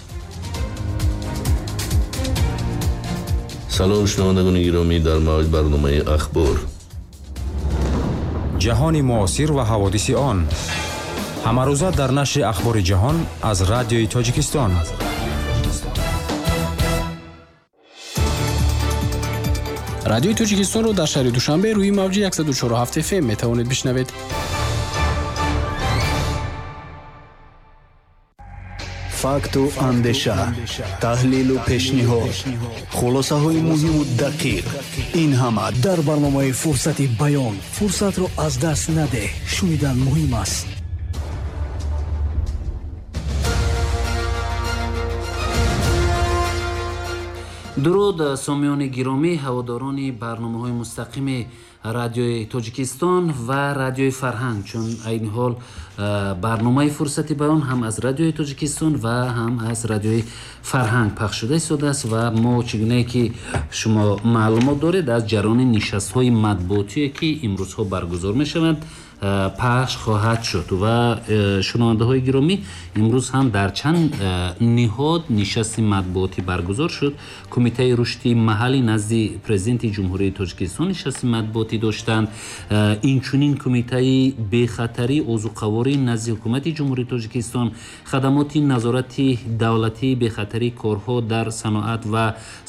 Салом шунавандагони гиромӣ, дар мавҷ барномаи Ахбор. Ҷаҳони муосир ва ҳаводиси он ҳамарӯза дар нашри Ахбори ҷаҳон аз Радиои Тоҷикистон. Радиои Тоҷикистонро дар шаҳри Душанбе рӯи мавҷи яксаду чору ҳафт эф эм метавонед бишнавед. Факту андеша, таҳлилу пешниҳод, хулосаҳои муҳиму дақиқ. Ин ҳама дар барномаи Фурсати баён. Фурсатро аз даст надеҳ, шунидан муҳим аст. Дуруд, сомиёни гиромӣ, ҳаводорони барномаҳои мустақими радиои Тоҷикистон ва радиои Фарҳанг, чун айни ҳол барномаи Фурсати баён ҳам аз радиои Тоҷикистон ва ҳам аз радиои Фарҳанг пахш шуда истодааст ва мо чӣ гунае ки шумо маълумот доред, аз ҷараёни нишастҳои матбуотие ки имрӯзҳо баргузор мешаванд пахш хоҳад шуд. Ва шунавандаҳои гиромӣ, имрӯз ҳам дар чанд ниҳод нишасти матбуотӣ баргузор шуд. Кумитаи рушди маҳаллӣ назди президенти Ҷумҳурии Тоҷикистон нишасти матбуотӣ доштанд. Инчунин кумитаи бехатарии озуқаворӣ назди ҳукумати Ҷумҳурии Тоҷикистон, хадамоти назорати давлатии бехатарии корҳо дар саноат ва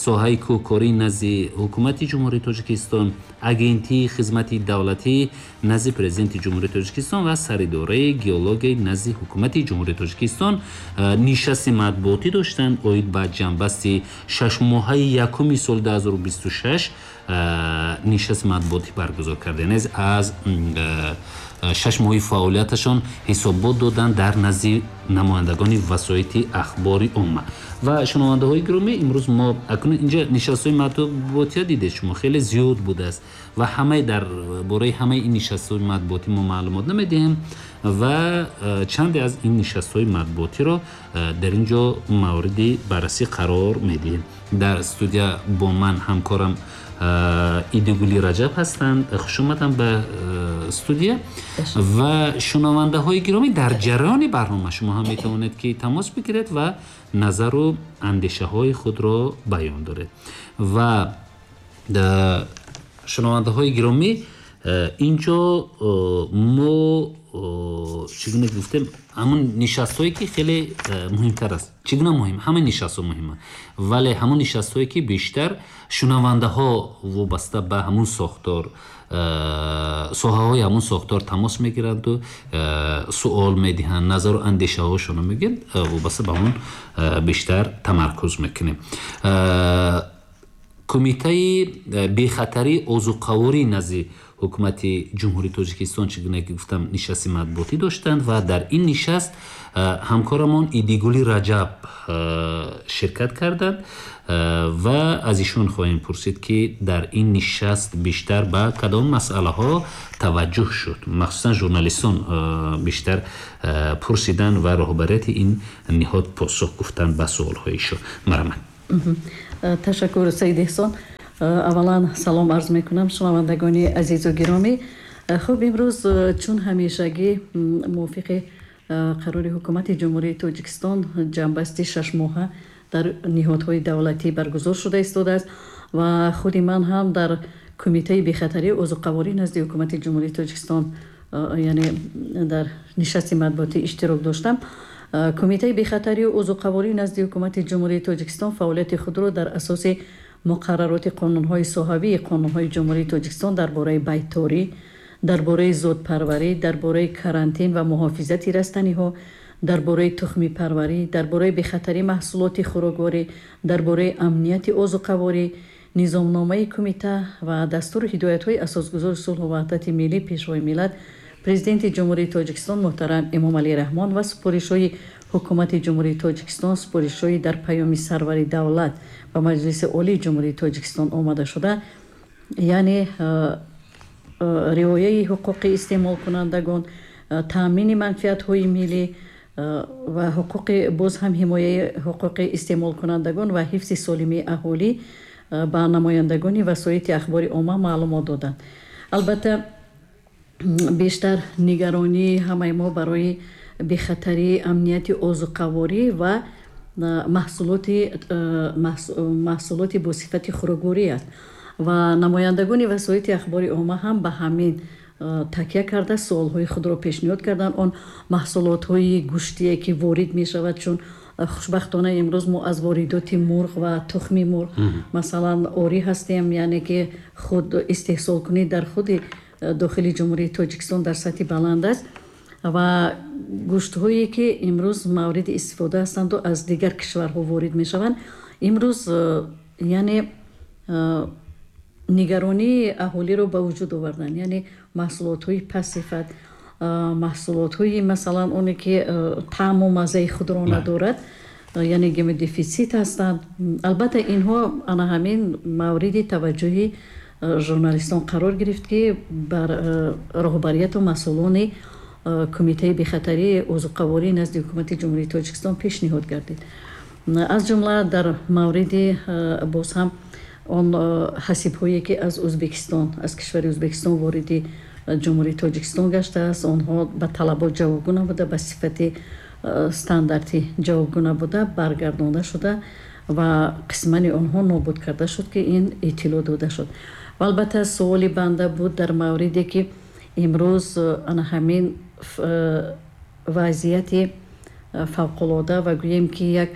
соҳаи кӯҳкорӣ назди ҳукумати Ҷумҳурии Тоҷикистон, агентии хизмати давлатӣ назди президенти Ҷумҳурии Тоҷикистон ва саридораи геологияи назди ҳукумати Ҷумҳурии Тоҷикистон нишасти матбуотӣ доштанд оид ба ҷанбасти шашмоҳаи якуми соли ду ҳазору бисту шаш нишасти матбуотӣ баргузор карданд. Аз шаш моҳи фаъолияташон ҳисобот доданд дар назди намояндагони васоити ахбори омма. Ва шунавандаҳои гиромӣ, имрӯз мо акнун инҷа нишастҳои матбуотия дидед, шумо хеле зиёд будааст ва ҳамаи дар бораи ҳамаи ин нишастҳои матбуотӣ мо маълумот намедиҳем ва чанде аз ин нишастҳои матбуотиро дар ин ҷо мавриди баррасӣ қарор медиҳем. Дар студия бо ман ҳамкорам Идигули Раҷаб ҳастанд. Хуш омадам ба студия. Ва шунавандаҳои гиромӣ, дар ҷараёни барнома шумо ҳам метавонед ки тамос бигиред ва назару андешаҳои худро баён доред. Ва шунавандаҳои гиромӣ, инҷо мо чӣ гуна гуфтем, ҳамон нишастҳое ки хеле муҳимтар аст. Чӣ гуна муҳим? Ҳама нишастҳо муҳиманд, вале ҳамон нишастҳое ки бештар шунавандаҳо вобаста ба ҳамон сохтор, соҳаҳои ҳамон сохтор тамос мегиранду суол медиҳанд, назару андешаҳошонро мегӯянд, вобаста ба ҳамон бештар тамаркуз мекунем. Кумитаи бехатарии озуқаворӣ назди ҳукумати Ҷумҳурии Тоҷикистон, чӣ гуна ки гуфтам, нишасти матбуотӣ доштанд ва дар ин нишаст ҳамкорамон Идигули Раҷаб ширкат карданд ва аз ишон хоҳем пурсид ки дар ин нишаст бештар ба кадом масъалаҳо таваҷҷӯҳ шуд. Махсусан журналистон бештар пурсиданд ва роҳбарияти ин ниҳод посух гуфтанд ба суолҳои ишон. Марҳамат. Ташаккур, Саид Эҳсон. Аввалан салом арз мекунам шунавандагони азизу гиромӣ. Хуб, имрӯз чун ҳамешагӣ мувофиқи қарори ҳукумати Ҷумҳурии Тоҷикистон ҷанбасти шашмоҳа дар ниҳодҳои давлатӣ баргузор шуда истодааст ва худи ман ҳам дар кумитаи бехатарии озуқаворӣ назди ҳукумати Ҷумҳурии Тоҷикистон, яъне дар нишасти матбуотӣ иштирок доштам. Кумитаи бехатарии озуқаворӣ назди ҳукумати Ҷумҳурии Тоҷикистон фаъолияти худро дар асоси муқаррароти қонунҳои соҳавии қонунҳои Ҷумҳурии Тоҷикистон дар бораи байторӣ, дар бораи зодпарварӣ, дар бораи карантин ва муҳофизати растаниҳо, дар бораи тухмипарварӣ, дар бораи бехатарии маҳсулоти хӯрокворӣ, дар бораи амнияти озуқаворӣ, низомномаи кумита ва дастуру ҳидоятҳои асосгузори сулҳу ваҳдати миллӣ, Пешвои миллат, Президенти Ҷумҳурии Тоҷикистон муҳтарам Эмомалӣ Раҳмон ва супоришҳои ҳукумати Ҷумҳурии Тоҷикистон, супоришҳои дар паёми сарвари давлат ба Маҷлиси Олии Ҷумҳурии Тоҷикистон омада шуда, яъне риояи ҳуқуқи истеъмолкунандагон, таъмини манфиатҳои миллӣ ва ҳуқуқи боз ҳам ҳимояи ҳуқуқи истеъмолкунандагон ва ҳифзи солимии аҳолӣ ба намояндагони васоити ахбори омма маълумот доданд. Албатта, бештар нигаронии ҳамаи мо барои бехатарии амнияти озуқаворӣ ва маҳсулоти маҳсулоти бо сифати хӯрокворӣ аст ва намояндагони васоити ахбори омма ҳам ба ҳамин такя карда суолҳои худро пешниҳод карданд. Он маҳсулотҳои гӯштие ки ворид мешавад, чун хушбахтона имрӯз мо аз воридоти мурғ ва тухми мурғ масалан орӣ ҳастем, яъне ки худ истеҳсолкунӣ дар худи дохили Ҷумҳурии Тоҷикистон дар сатҳи баланд аст. Ва гӯштҳое ки имрӯз мавриди истифода ҳастанду аз дигар кишварҳо ворид мешаванд, имрӯз яъне нигаронии аҳолиро ба вуҷуд оварданд. Яъне маҳсулотҳои пастсифат, маҳсулотҳои масалан оне ки таъму маззаи худро надорад, яъне гемодефитсит ҳастанд. Албатта инҳо ана ҳамин мавриди таваҷҷӯҳи журналистон қарор гирифт, ки бар роҳбарияту масъулони Кумитаи бехатарии озуқаворӣ назди Ҳукумати Ҷумҳурии Тоҷикистон пешниҳод гардид. Аз ҷумла дар мавриди боз ҳам он ҳасибҳое ки аз Ӯзбекистон, аз кишвари Ӯзбекистон вориди Ҷумҳурии Тоҷикистон гаштааст, онҳо ба талабот ҷавобгӯ набуда, ба сифати стандартӣ ҷавобгӯ набуда, баргардонда шуда ва қисмани онҳо нобуд карда шуд, ки ин иттилоъ дода шуд. Ва албатта суоли банда буд дар мавриде ки имрӯз ана ҳамин вазъияти фавқулода ва гӯем ки як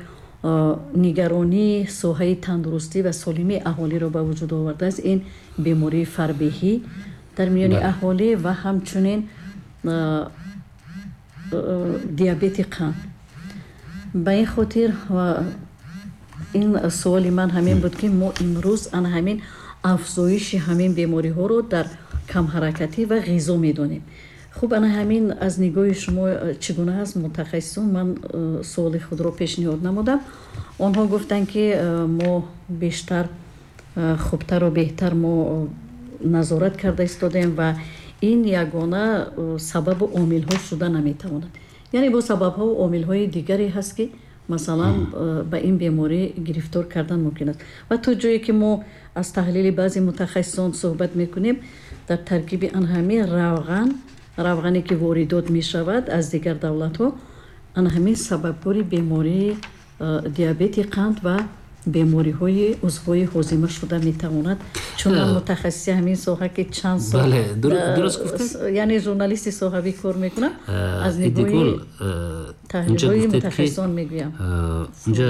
нигаронии соҳаи тандурустӣ ва солимии аҳолиро ба вуҷуд овардааст, ин бемории фарбеҳӣ дар миёни аҳолӣ ва ҳамчунин диабети қанд. Ба ин хотир ин суоли ман ҳамин буд, ки мо имрӯз ана ҳамин афзоиши ҳамин бемориҳоро дар камҳаракатӣ ва ғизо медонем. Хуб, ана ҳамин аз нигоҳи шумо чӣ гуна аст, мутахассисон? Ман суоли худро пешниҳод намудам. Онҳо гуфтанд, ки мо бештар хубтару беҳтар мо назорат карда истодаем ва ин ягона сабабу омилҳо шуда наметавонад. Яъне бо сабабҳо омилҳои дигаре ҳаст, ки масалан ба ин беморӣ гирифтор кардан мумкин аст. Ва то ҷое ки мо аз таҳлили баъзе мутахассисон суҳбат мекунем, дар таркиби ан ҳамин равған, равғане ки воридот мешавад аз дигар давлатҳо, ан ҳамин сабабгори бемории диабети қанд ва бемориҳои узвҳои ҳозима шуда метавонад. Чун ман мутахассиси ҳамин соҳа ки чанд сол яъне журналисти соҳавӣ кор мекунам, аз нигоҳи таҳлилҳои мутахассисон мегӯям. Унҷа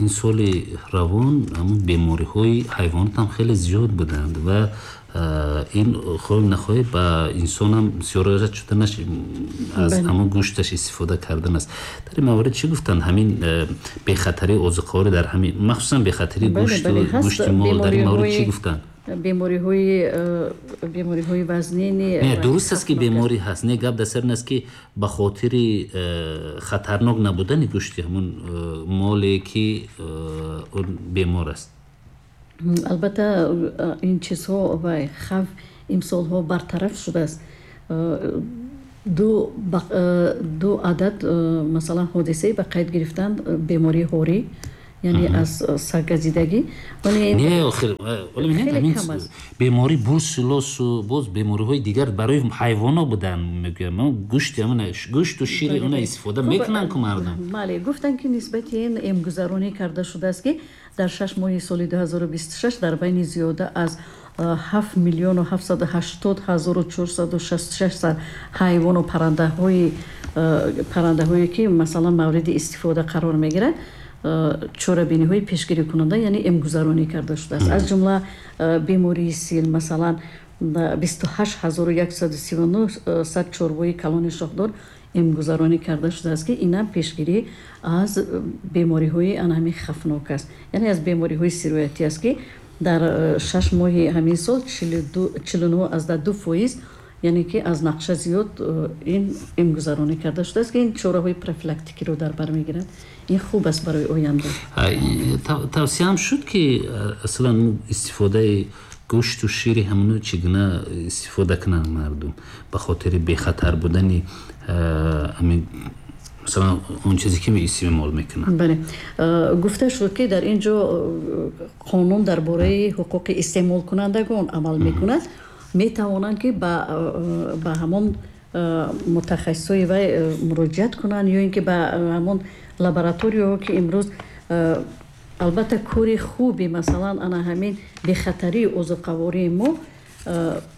ин соли равон ҳамун бемориҳои ҳайвонот ҳам хеле зиёд буданд ва ин хоҳем нахоҳем ба инсонам сиёрат шуданаш аз ҳамон гӯшташ истифода кардан аст. Дар ин маврид чӣ гуфтанд? Ҳамин бехатарии озуқаворӣ дар ҳамин, махсусан бехатарии гӯшту гӯшти мол, дар ин маврид чӣ гуфтанд? Бемориҳои бемориҳои вазнини не, дуруст аст ки беморӣ ҳаст, не, гап дар сар ин аст ки ба хотири хатарнок набудани гӯшти ҳамон моле ки он бемор аст. Албатта ин чизҳо ва хавф имсолҳо бартараф шудааст. Ду ду адад масалан ҳодисае ба қайд гирифтанд бемории ҳорӣ, яъне аз саггазидагӣ. Не, охир ҳамин беморӣ бурсулосу боз бемориҳои дигар барои ҳайвонҳо буданд, мегӯям. Гӯшти ҳамон гӯшту шири она истифода мекунанд ку мардум. Бале, гуфтанд ки нисбати ин эмгузаронӣ карда шудааст, ки дар шаш моҳи соли ду ҳазору бисту шаш дар байни зиёда аз ҳафт миллиону ҳафтсаду ҳаштод ҳазору чорсаду шасту шаш сар ҳайвону паррандаҳои паррандаҳое ки масалан мавриди истифода қарор мегиранд, чорабиниҳои пешгирикунанда, яъне эмгузаронӣ карда шудааст. Аз ҷумла бемории сил, масалан бисту ҳашт ҳазору яксаду сиву нӯҳ сад чорвои калони шохдор эмгузаронӣ карда шудааст, ки инам пешгирӣ аз бемориҳои ана ҳамин хавфнок аст, яъне аз бемориҳои сироятӣ аст, ки дар шаш моҳи ҳамин сол чилу нӯҳ аз ду фоиз, яъне ки аз нақша зиёд ин эмгузаронӣ карда шудааст, ки ин чораҳои профилактикиро дар бар мегирад. Ин хуб аст барои оянда. Тавсияам шуд, ки аслан истифодаи гӯшту шири ҳамоно чӣ гуна истифода кунанд мардум ба хотири бехатар будани ҳамин масалан он чизе ки истеъмол мекунанд. Бале, гуфта шуд, ки дар ин ҷо қонун дар бораи ҳуқуқи истеъмолкунандагон амал мекунад. Метавонанд ки ба ба ҳамон мутахассисои вай муроҷиат кунанд ё ин ки ба ҳамон лабораторияҳо, ки имрӯз албатта кори хуби масалан ана ҳамин бехатарии озуқавории мо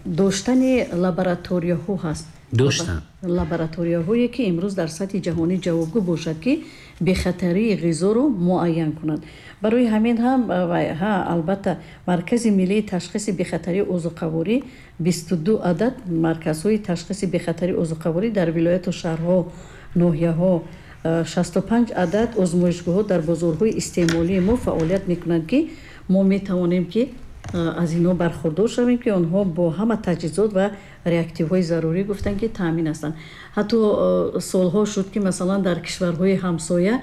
доштани лабораторияҳо ҳаст. Доштанд лабораторияҳое, ки имрӯз дар сатҳи ҷаҳонӣ ҷавобгӯ бошад, ки бехатарии ғизоро муайян кунанд. Барои ҳамин ҳам, ҳа, албатта, Маркази миллии ташхиси бехатарии озуқаворӣ, бисту ду адад марказҳои ташхиси бехатарии озуқаворӣ дар вилояту шаҳрҳо, ноҳияҳо, шасту панҷ адад озмоишгоҳҳо дар бозорҳои истеъмолии мо фаъолият мекунанд, ки мо метавонем, ки аз инҳо бархурдор шавем, ки онҳо бо ҳама таҷҳизот ва реактивҳои зарурӣ, гуфтанд, ки таъмин ҳастанд. Ҳатто солҳо шуд, ки масалан дар кишварҳои ҳамсоя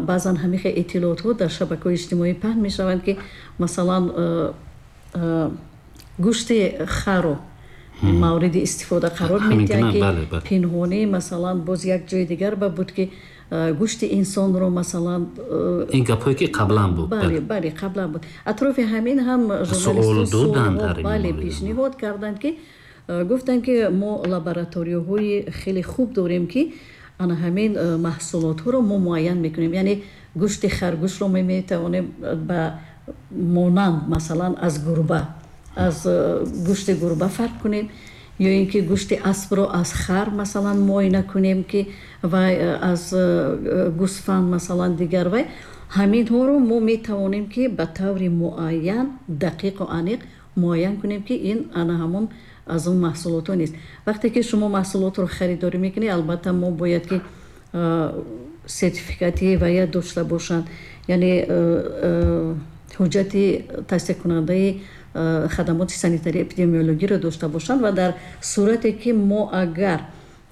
баъзан ҳамихе иттилоотҳо дар шабакаҳои иҷтимоӣ паҳн мешаванд, ки масалан гӯшти харо мавриди истифода қарор медиҳанд, ки пинҳонӣ, масалан, боз як ҷои дигар ба буд, ки гӯшти инсонро, масалан. Ин гапҳое, ки қаблан буд. Бале, бале, қаблан буд. Атрофи ҳамин ҳам журналистҳо, бале, пешниҳод карданд, ки гуфтанд, ки мо лабораторияҳои хеле хуб дорем, ки ана ҳамин маҳсулотҳоро мо муайян мекунем, яъне гӯшти харгӯшро мо метавонем ба монанд, масалан, аз гурба, аз гӯшти гурба фарқ кунем, ё ин ки гӯшти аспро аз хар, масалан, муоина кунем, ки вай аз гӯсфанд, масалан, дигар. Вай ҳаминҳоро мо метавонем, ки ба таври муайян, дақиқу аниқ муайян кунем, ки ин ана ҳамон аз он маҳсулотҳо нест. Вақте ки шумо маҳсулотро харидорӣ мекунед, албатта, мо бояд, ки сертификати вая дошта бошанд, яъне ҳуҷҷати тасдиқкунандаи хадамоти санитарии эпидемиологиро дошта бошанд. Ва дар сурате ки мо агар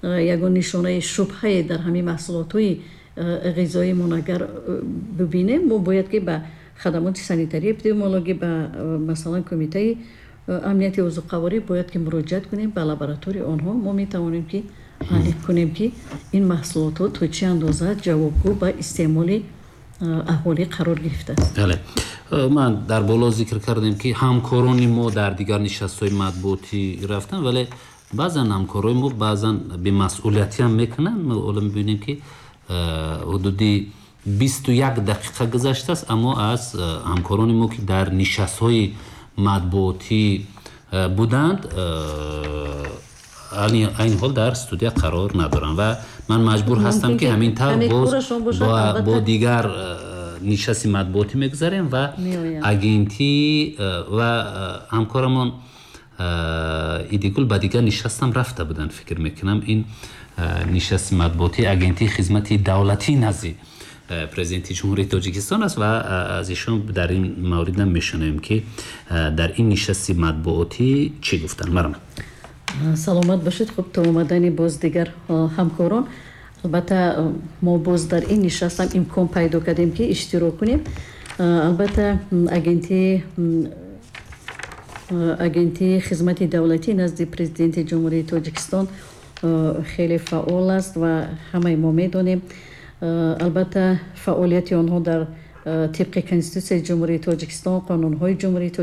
ягон нишонаи шубҳае дар ҳамин маҳсулотҳои ғизоимон агар бибинем, мо бояд, ки ба хадамоти санитарии эпидемиологӣ, ба, масалан, Кумитаи амнияти озуқаворӣ бояд, ки муроҷиат кунем ба лабораторияи онҳо. Мо метавонем, ки аниқ кунем, ки ин маҳсулотҳо то чӣ андоза ҷавобгӯ ба истеъмоли аҳолӣ қарор гирифтааст. Бале, ман дар боло зикр кардем, ки ҳамкорони мо дар дигар нишастҳои матбуотӣ рафтанд, вале баъзан ҳамкорои мо баъзан бемасъулиятиам мекунанд. Мо ҳоло мебинем, ки ҳудуди бисту як дақиқа гузаштааст, аммо аз ҳамкорони мо, ки дар нишастҳои матбуотӣ буданд, айни ҳол дар студия қарор надоранд ва ман маҷбур ҳастам, ки ҳамин тавр боз бо дигар нишасти матбуотӣ мегузарем ва агентӣ ва ҳамкорамон Идигул ба дигар нишастам рафта буданд. Фикр мекунам, ин нишасти матбуотии Агентии хизмати давлатӣ назди Президенти Ҷумҳурии Тоҷикистон аст ва аз ишон дар ин мавридам мешунавем, ки дар ин нишасти матбуотӣ чӣ гуфтанд. Марам. Саломат бошед. Хуб, то омадани боз дигар ҳамкорон, албатта, мо боз дар ин нишастам имкон пайдо кардем, ки иштирок кунем. Албатта, агентии агентии хизмати давлатӣ назди Президенти Ҷумҳурии Тоҷикистон хеле фаъол аст ва ҳамаи мо медонем. Албатта, фаъолияти онҳо дар тибқи Конститутсияи Ҷумҳурии Тоҷикистон, қонунҳои Ҷумҳурии Тоҷикистон.